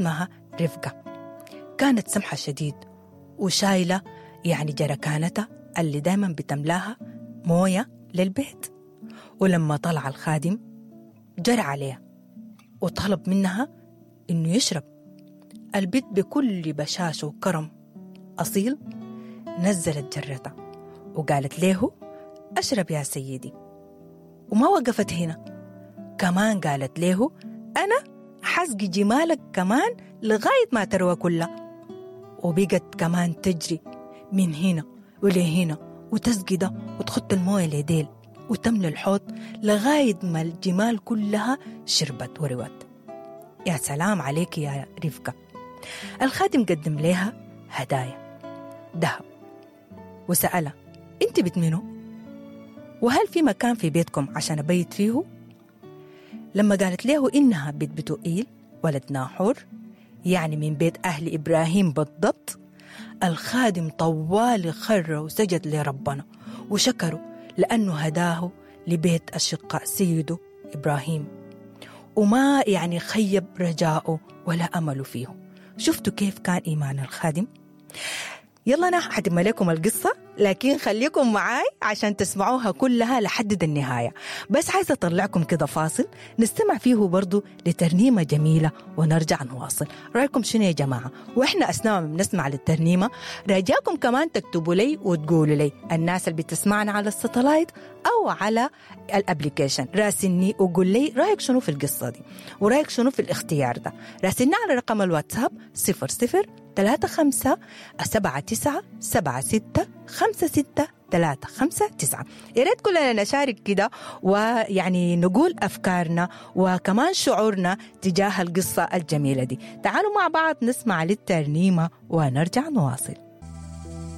اسمها رفقة، كانت سمحة شديد وشايلة يعني جركانتها اللي دايما بتملاها موية للبيت. ولما طلع الخادم جرى عليها وطلب منها إنه يشرب. البت بكل بشاشة وكرم أصيل نزلت جرتها وقالت له أشرب يا سيدي، وما وقفت هنا، كمان قالت له أنا حسقي جمالك كمان لغاية ما تروى كلها. وبقت كمان تجري من هنا ولهنا وتسقي ده وتخط الموية لديل وتملى الحوض لغاية ما الجمال كلها شربت وروت. يا سلام عليك يا رفقة. الخادم قدم لها هدايا ذهب وسألها انت بت منو؟ وهل في مكان في بيتكم عشان أبيت فيه؟ لما قالت له إنها بيت بتوئيل ولد ناحور، يعني من بيت أهل إبراهيم بالضبط، الخادم طوال خر وسجد لربنا وشكره لأنه هداه لبيت أشقاء سيده إبراهيم، وما يعني خيب رجاؤه ولا أمله فيه. شفتوا كيف كان إيمان الخادم؟ يلا أنا حتم لكم القصة، لكن خليكم معاي عشان تسمعوها كلها لحد النهاية. بس عايزة أطلعكم كده فاصل نستمع فيه برضو لترنيمة جميلة ونرجع نواصل. رأيكم شنو يا جماعة؟ وإحنا أثناء ما بنسمع للترنيمة رجاكم كمان تكتبوا لي وتقولوا لي، الناس اللي بتسمعنا على ال satellite أو على ال application، راسلني وقول لي رأيك شنو في القصة دي ورأيك شنو في الاختيار ده. راسلني على رقم الواتساب 00 35 79 76 56 3 5 9. يا ريت كلنا نشارك كده ويعني نقول أفكارنا وكمان شعورنا تجاه القصة الجميلة دي. تعالوا مع بعض نسمع للترنيمة ونرجع نواصل.